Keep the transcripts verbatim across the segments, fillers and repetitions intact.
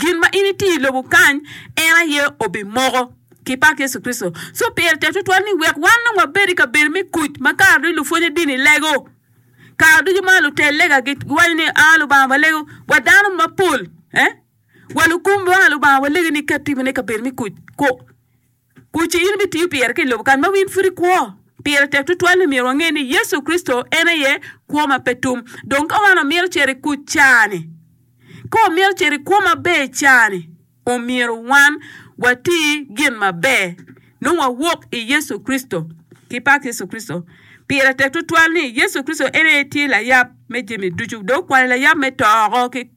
Gin ma in itiyo i lobo kany en aye obimoko. Ki pak Yecu Kricito. So pire tek tutwal ni wek wan dong wabed i kabedo me kuc ma kare ducu lupwonye dini lego. Kare ducu ma lutel lega giwaco ni, A Lubanga walego wa dano mapol, eh? Wa lukum wa Lubanga walegi ni iket timone i kabedo me kuc. Ko kuc-ci in ibitiyo pire ki i lobo kany ma in pud ikwo. Pire tek tutwal ni myero wange ni Yecu Kricito en aye kwo ma pe tum. Dong ka wan wamito cito i kuc ca-ni, ka wamito cito i kwo maber ca-ni, Omyero wan wati gin maber, nongo wawok i Yecu Kricito. Ki pak Yecu Kricito. Pire tek tutwal ni Yecu Kricito en aye tye layab me jami ducu. Dong okwanyo layab me to oko ki,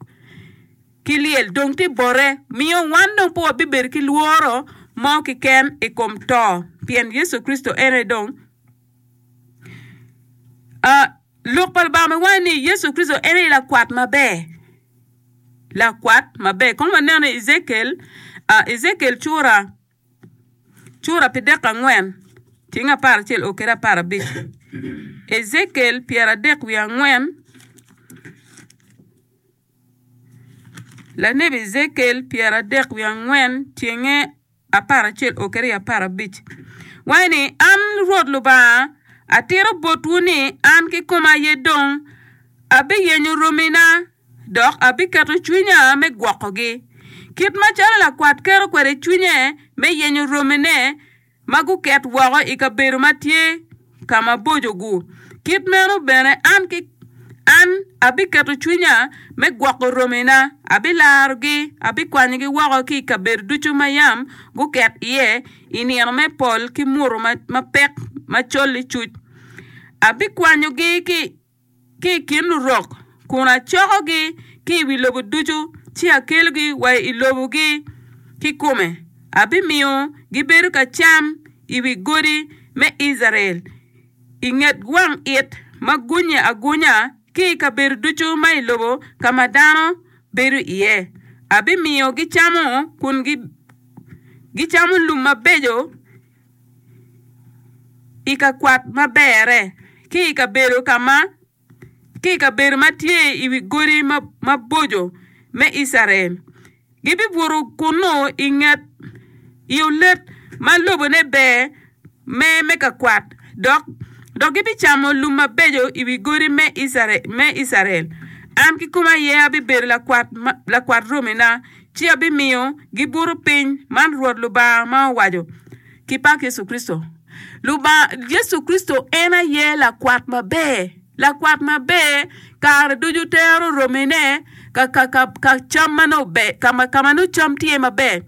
ki lyel dong tye bote. Miyo wan dong pe wabibedo ki lworo mo keken i kom to, pien Yecu Kricito en aye dong a Lok pa Lubanga bene waco ni Yecu Kricito en aye lakwat maber. Lakwat maber. Kong waneno i Ezekiel, Ezekiel cura, cura pi dek angwen, tyeng apar acel o kede apar abic. Ezekiel pyeradek wiye angwen, lanebi Ezekiel pyeradek wiye angwen tyenge apar acel o kede i apar abic. Waco ni, An Rwot Lubanga, atito botwu ni an kikoma aye dong abiyenyo romina, dok abiketo cwinya me gwokogi. Kit macalo lakwat keto kwede cwinye me yenyo romine ma guket woko i kabedo ma tye ka maboco-gu, kit meno bene an ki an abiketo cwinya me gwoko romina, abilarogi, abikwanyogi woko ki i kabedo ducu ma yam guket iye i nino me pol ki mutu mapek macol licuc. Abikwanyogi ki ki i kin lurok, kun acokogi ki i wi lobo ducu, ci akelogi wa i lobogi kikome. Abimiyo gibedo ka cam i wi godi me Icrael, i nget wang it ma gunnye agunya, ki i kabedo ducu ma i lobo ka ma dano bedo iye. Abimiyo gicamo kun gicamo lum mabeco i ka kwat maberre, ki i kabedo ka ma ki i kabedo ma tye i wi godi maboco me Icrael. Gibibuto kunnu i nget i olet ma lobone ber me me ka kwat, dok dok gibicamo lum mabeco i wi godi me Icrael. An kikoma aye abibedo lakwat lakwat romina, ci abimiyo gibuto piny, man Rwot Lubanga ma owaco. Ki pak Yecu Kricito. Lubanga, Yecu Kricito en aye lakwat maber. Lakwat maber kare ducu tero romine ka, ka, ka, ka cam ma nongo ber, ka ma, ka ma nongo cam tye maber.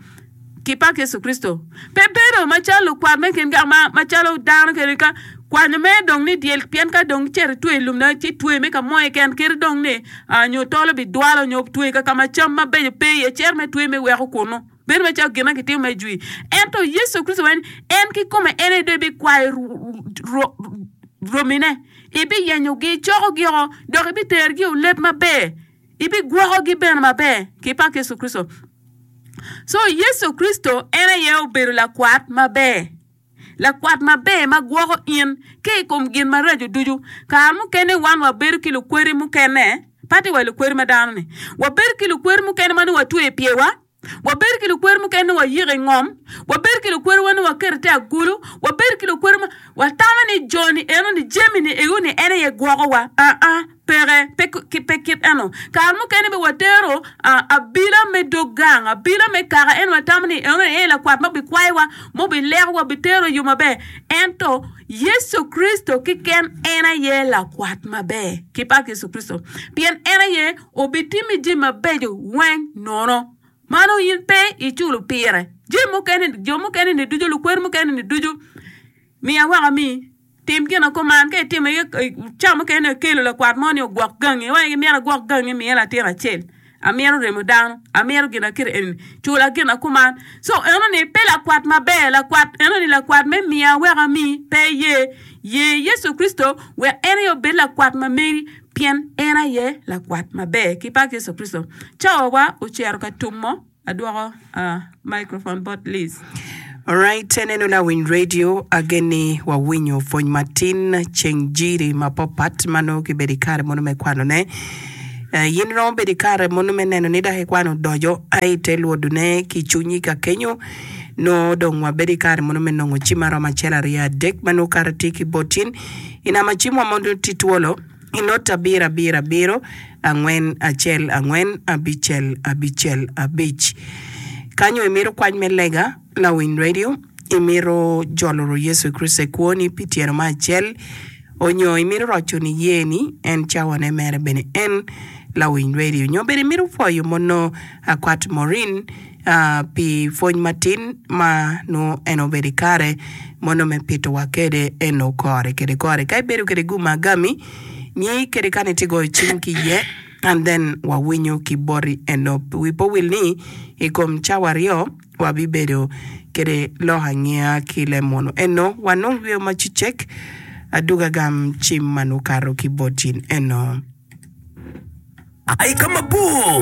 Ki pak Yecu Kricito. Pe bedo macalo lukwat me kin gang ma, macalo dano kene ka kwanyo mere dong ni dyel pien ka dong icito itweyo i lum dong ci itweyo me ka mo keken kadi dong ni ah, nyo tol obidwalo nyo otweyo ka ka ma cam mabeco pe iye cito me tweyo me weko kunu. Bedo macalo gin ma kitimo me jwi. Ento Yecu Kricito en, en kikome en aye dong ebikwayo romine, ibiyenyogi, icokogi oko, dok ibiterogi i olet maber, ibigwokogi bene maber ki pak Yecu Kricito. So Yecu Kricito en aye obedo lakwat maber. Lakwat maber ma gwoko in ki i kom gin maraco ducu. Kare mukene wan wabedo ki lukweri mukene, pati wa lukweri ma dano-ni. Wabedo ki lukweri mukene ma nongo watweyo i pyewa, wabedo ki lukweri mukene nongo wayiko i ngom, wabedo ki lukweri wa nongo waketo i te agulu, wabedo ki lukweri ma watamo ni jo-ni eno-ni, jami-ni ego-ni en aye gwokowa. Aa, peke, pe, pe kit eno. Kare mukene bene watero abila me dog gang, abila me kaka, ento watamo ni eno aye lakwat ma bikwayowa, ma obilekowa, obiterowa i yo maber. Ento Yecu Kricito keken en aye lakwat maber. Ki pak Yecu Kricito, pien en aye obitimi jami mabeco weng nono. Mano in pe iculo pire. Jami mukene, jo mukene-ni ducu, lukwer mukene-ni ducu, miya wek ami. Tim gin ma kuman, ka itimo iye ca mukene ikelo lakwat mo ni ogwok gangi, iwaco ni myero agwok gangi miya latin acel, amito remo dano, amito gin akite eni, cula gin ma kuman. So eno ni pe lakwat maber, lakwat eno ni lakwat me miya wek ami, pe iye. Ye Yecu Kricito wek en aye obed lakwat ma meri pien en aye lakwat maber. Ki pak Yecu Kricito. Cawa wa ocito ka tumo. Adwoko microphone bot Liz. Alright, eneno lawiny radio ageni wawinyo pwony matin ceng jiri mapapat ma nongo kibedo ikare mono me kwanone In iromo bedo i kare mono me neno ni dok ikwano odoco aye ite lwodone ki cwinyi ka kenyo. Nongo dong wabedo i kare mono me nongo cim maromo acel aryo adek ma nongo kare tye ki bot in. I namba cimwa mono tye twolo i not abiro abiro abiro angwen acel angwen abicel abicel abic. Kanyo imito kwany me lega, lawiny radio, imito jolo Rwot Yecu Kricito i kwoni pi tyeno me acel, onyo imito roco niye ni en cawane mere bene en lawiny radio, nyo bene imito pwoyo mono Akwat Maureen pi pwony matin ma nongo en obedo i kare mono me pitowa kede eno kore kede kore. Ka ibedo kede gum agami, nyi kede kany itye goyo cim ki iye and then wawinyo ki boti eno. Wi pe owil ni i kom cawa aryo wabibedo kede lok angiya ki leb munu eno. Wanong yweyo macecek adwogi agam cim ma nongo okato ki bot in eno. A i ka mabor.